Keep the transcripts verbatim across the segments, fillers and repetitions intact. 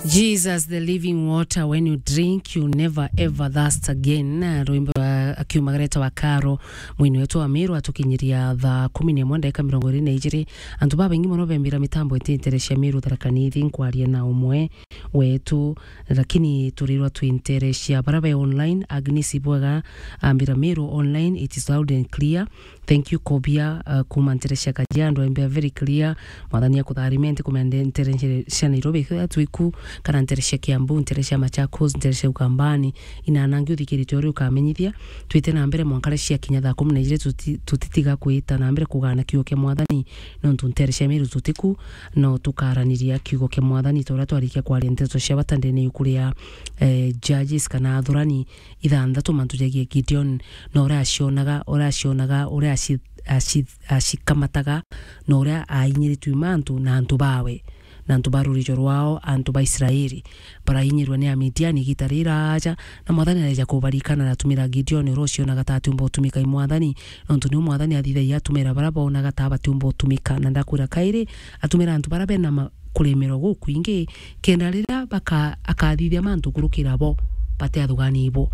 Jesus, the living water, when you drink, you never ever thirst again. Na rwimbo rwa akiuma gareta wa Karo, mwini wetu wa Miru, atukinyiria thaa kumi na imwe ndagika mirongo iri na ijiri. Antu babaingi mono bembira mitambo iti ntere cia Miru Tharaka Nithi, nkwaria na umwe wetu, lakini turirwa twi ntere cia bara be online. Agnes Ibwega ambira, Miru online, it is loud and clear. Thank you, Kobia, uh, kuma ntere cia Kajiado, ambia very clear. Mwathani akutharime, ntikumende ntere cia Nairobi, ethira twiku, kana ntere cia Kiambu, ntere cia Machakos, ntere cia Ukambani, inanangi uthikirite uria ukamenyithia. Twite na mbere mwanka riria ciakinya thaa kumi na ijiri, tuti-, tutitiga kwita na mbere kugana kiugo kia Mwathani, nontu ntere cia Miru tutiku, no tukaraniria kiugo kia Mwathani ta uria twarikia kwaria nteto cia bata ndene yuku ria, eh, Judges kana Athurani ithanthatu, mantu jagie Gideon, na uria acionaga, uria acionaga, uria aci-, aci-, acikamataga, na uria ainyiritue mantu na antu bawe, na antu ba rurijo rwao, antu ba Israeli, barainyirwe ni Amidiani igita riraja, na Mwathani areja kubarikana, aratumira Gideon, uria ucionaga ta atiumba utumika i Mwathani, nontu niu Mwathani athithagia atumira bara bonaga ta batiumba utumika. Na ndakwira kairi, atumira antu bara bena ma-, kuremerwa gukwingi, kenda riria baka-, akathithia mantu kurukira bo, bate athugani ibo.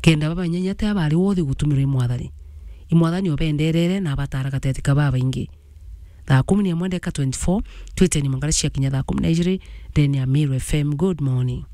Kenda babanyenya ate abari wothi gutumirwa i Mwathani. I Mwathani obenderere na abatara gateti ka babaingi. Thaa kumi na imwe ndeka twenty-four, twiteni mangara ciakinya thaa kumi na ijiri, ndene ya Meru F M. Good morning.